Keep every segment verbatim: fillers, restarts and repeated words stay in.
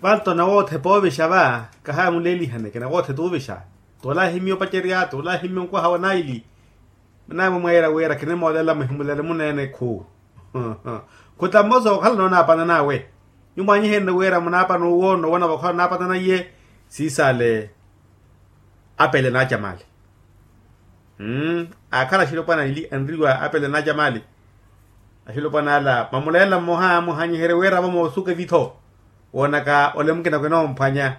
Vanto nawoothepa ovixa va. Kahamuleelihaneke nawoothepa ovixa. Tolahimya opacerya tolahimya onkwaha wa naili. Nawe mweera wira kinimoolela muhimulele muneene khu. Khutammosa okhala noonaapana nawe. Nyumwanyihenle wira munaapana owo nowona vokhala onaapana naiye. Siisale apele naacamali. Aakhala axilopwana anriwa apele naacamali. Axilopwana ala mamuleela mmoha muhanyiherye wira vo moosuka evitho. Woonaka ole mukina kwinomphwanya.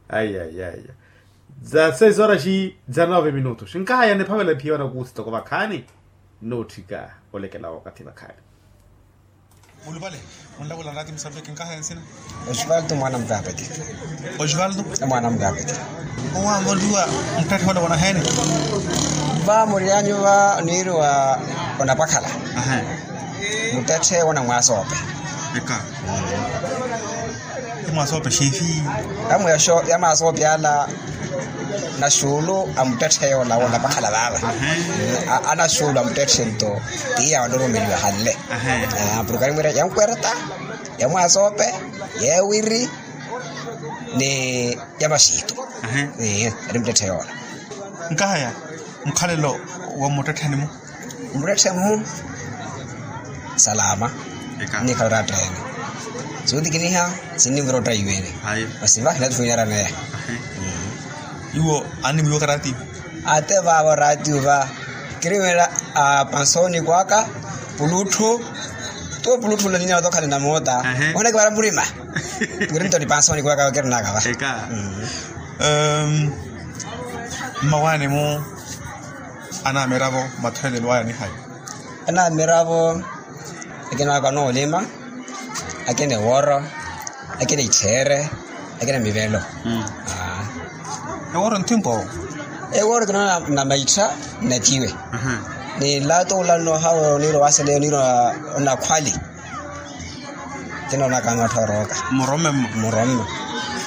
Ai ai ai. Za seis horas za nove minutos nkahaya niphavela ephiya wanakuusi toko vakhaani. Nootthika olekela wakathi vakhaani. Mulupale. Munlakulana ati musaveke nkahaya nsina. Osvaldo mwana mukapeti. Osvaldo. Mwana mukapeti. Owaamoliwa muttetthe ole wonaheeni? Va muriyanyu va niiri wa onapakhala. Muttetthe wona mwasoope. Eka. Yamwasoope xeefi. Yamwasoope ala. Naxuulu a muttetthe yoola wonapakhala vaava. Anaxuulu a muttetthe nto tiya wanooromeliwa hanle. Porke animwiira ya nkwerta, ya mwasoope, ya ewiri, ni ya maxiitu. Ari muttetthe yoola. Nkahaya mukhalelo wa mmuttettheni-mu. Mmuttetthe-mu. Salama. Nnikhala oratteene. Suutikiniha. Sinnimvira ottaiwene. Masi va khinatthi khwinyaraneya. Iwo annimwiwaka ratio? Ate vaavo ratio va. Kiriwela. Pansoni kwaka. Pulutthu. Tuwo pulutthu nla ninyala tokhalina moota. Ooneke vara murima. Kiri nto ni pansoni kwaka kirinaka va. Mmawaani-mu. Anaamiravo mathoyelelo aya nihayi? Anaamiravo. Akina akanoolima. Akina ewooro. Akina ittheere. Akina mivelo. Ewooro nthimpo. Ewooro kinoona na maittha. Natiwe. Ni nlato ula nnohawe oniira owaseleya oniira onakhwali. Kinoonaka anootthorooka. Mmuromme mmo. Mmuromme.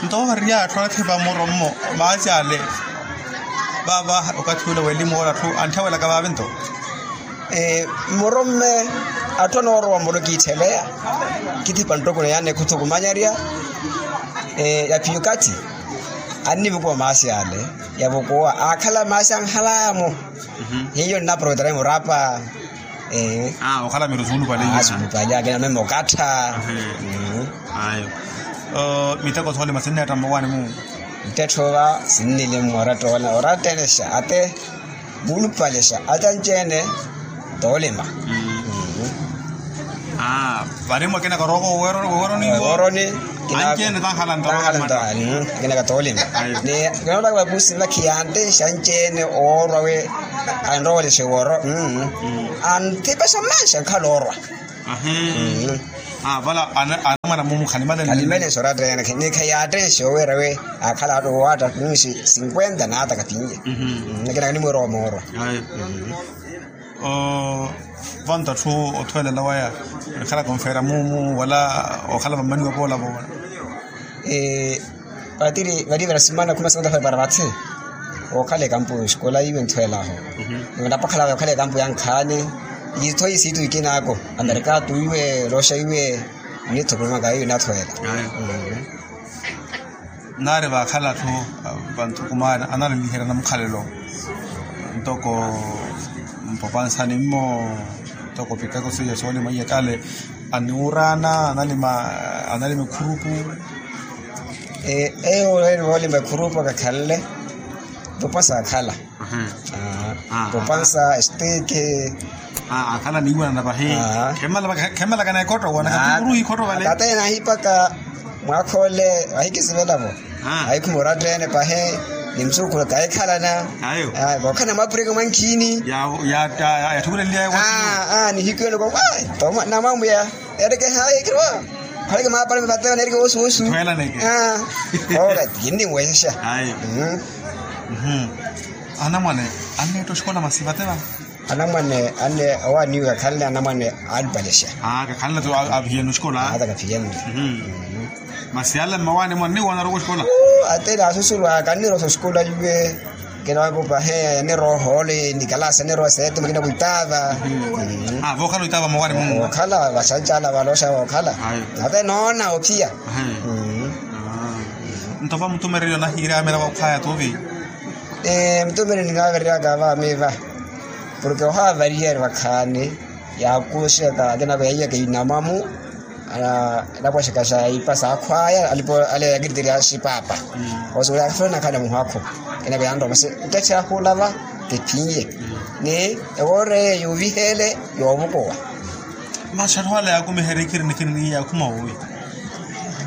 Nto ooriya atthu anathepa mmurommo. Maasi ale. Vaava okathi ule welimu woola atthu antthawelaka vaavi nto. Mmuromme. Atthu anoorowa mmuro kiittheleya. Kiithipa nttoko na yaani khuthukumanyarya. Ya piyukathi. Annivukuwa maasi ale. Yavukuwa aakhala maasi anhalaamu. Hiyo nnaproterai murapa. Okhala miri osuulupale. Suulupale akina meme okattha. Ayo. Miteko soolima sinneetta mmawaani-mu. Miteko va sinnili mmoratta oona orattelexa ate. Vuulupalexa ate anci-ene. Toolima. Varimwa akina karooko woweroni. Anci-ene tankhala nto. Akina katoolima. Ni kinoolaka vakusi vakhiyantexa anci-ene oorwa we. Anrooleshe woro. Antipexa manxa nkhala orwa. Vala anamwana mumu khanimalene. Khanimalene soratene ni khayatene xowera we. Akhala atu wata nunxi sinkwenta nata kapinye. Nakina kanimwera omorwa. Vanto atthu othwelela waya. Ekhalaka onfeera mumu wala okhala vammaniwa poola poola. Vatiri vatiri varasimana khuma santa fai para vatsi. Okhala ekampu xikola iwe nthwelaho. Napakhala okhala ekampu ya nkhaani. Itho isitu ikinako amerikatu iwe rosha iwe. Nithukulumaka iwe nathwela. Naari vaakhala atthu vanthukumaani analiliherya namukhalelo. Ntoko mpapansani mmo ntoko piteko siya soolima iyakale. Aniwuraana analima analima ekhurupu. Eyo ololeli woolima ekhurupu akakhanle. Popansa akhala. Popansa esteke. Akhala niiwanana vahi. Khemalakana ekhoto wana kati muruhi ikhoto vale. Kata enahipaka. Mwakhole ahikisivelavo. Ahikhumora attene pahe. Ni msukhulu kahikhalana. Ayo. Vokhana mwapureke mwankhini. Yathukuleliyaye. Nihikiwene ko. Namwamuya. Ereke hayi kiro. Haleke mapale mapatela nereke wosi wosi. Twela neke. Ora kinni mwesha. Ayi. Anamwane anneetta oxikola masi vatela. Anamwane anne owaaniwe kakhanle anamwane. Alipalesha. Kakhanle tu aphiyene oxikola. Ata kaphiyene. Masi ala mmawaani mwanne wanaroka oxikola. Atela asusulwa kannirosa oxikola yuwe. Kina wakupahe aniroho ole nikalaasi aniroho seetuma kina kuitaava. Vookhala oitaava mowani munnu. Vookhala vaxanxala valooxa vookhala. Ate noona ophiya. Nto va mutumereryo nahiiraamela vakhaya tuvi. Mutumereryo ninaavereryaka va miva. Porke ohaavariyeeri vakhaani yaakuxeka akina veiyaka inamamu. Anapwaxaka xa ipa saakhwaya alipo ale yakiriterya xipaapa. Osuwela akhafuna nakhala muhakhu. Enako yanroma se ntathi ahulava. Kephinye ni ewooreye yovihele. Yovukuwa. Maxaru ale yakumiherya ikhiri nikhiri ni yakhuma wowi.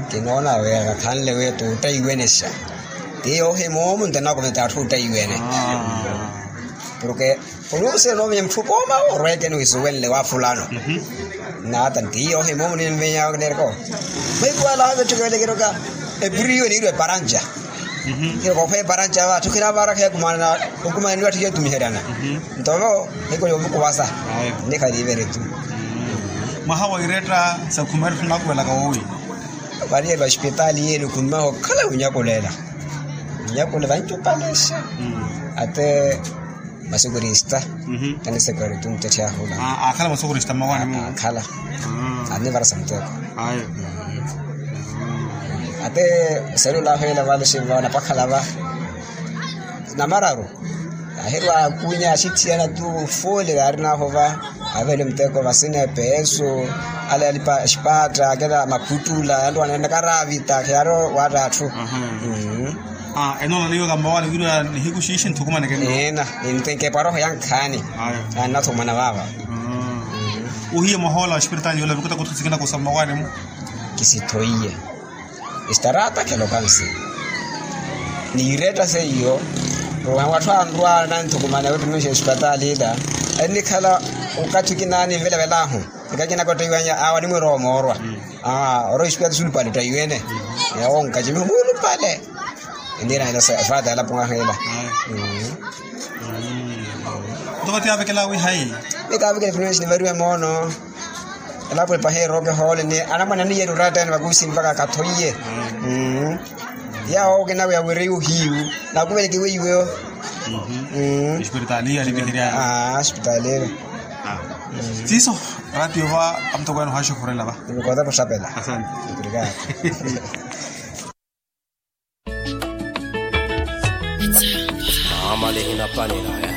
Kinoona weya kakhanle weya tuuttaiwenexa. Ti yoohimoomu nto nakumeta atthu uttaiwene. Porke onuusiya noovinya mutthu kooma orweekeni wisuwenle wa fulano. Naata ntiiyo ohimoomu ninvinya neereko. Maikuwala haave tthukewelekero ka epuriyo niirwa eparanca. Kirokoopha eparanca va atthu khinaavarakha yakumana. Okumana niwatthiya otumiheryana. Nto vo maikuwala ovukuwasa. Nikhaliivere tu. Mwaha wa iretta sa khumari tthuna akuvelaka wowi. Variyelo ospitaali yenu khunmaha okhala wunyakulela. Nyakula vancu palexa. Ate masokorista. Tani sekorista muttetti ahula. Akhala masokorista mmawaani mu akhala. Ani varasa muteko. Ate selula ahweela vale xivana pakhala va namararu. Ahirwa akunya axitthiyana tu fole vaarinaho va. Avele muteko vasina epeeso. Ale alipa xipatta akela makhuttula antu anenekaravita kheyaro watta atthu. Enoona niyo kammawaani wirwa nihiku xiixi nthukumaneke nto. Ena. Nintenkepa roho yankhaani. Annathukumana vaava. Ohiye mwahoola wa espiritaali yoola vikuta kuthusikina kusa mmawaani mu. Kisithoiye. Estarata khelokansi. Niiretta seiyo. Watthu anrwa nanthukumana wettunuxa espiritaali ila. Ennikhala okathi okinaani nvelavelaahu. Ekakina kottaiwanya awa nimwirowa moorwa. Oro espiritaali sulupali ottaiwene. Yawo nkacimiho mulupale. Enniira nela sa efata yalapuwaha ela. Nto vati aavekela wihayi. Nikaavekela efuluensi nivariwe moono. Elapo epaha erooke hoole ni anamwane aniyeri oratta yani vakusi mpakha akathoiye. Yawo okinaweya wiri uhiyu. Nakuveleke weiweyo. Espiritaali yalipiherya. Espiritaali. Siiso. Ratio va amutoko yani ohaxokhorela va. Nivikoota kuxapela. Asante. Maamale hinapanela.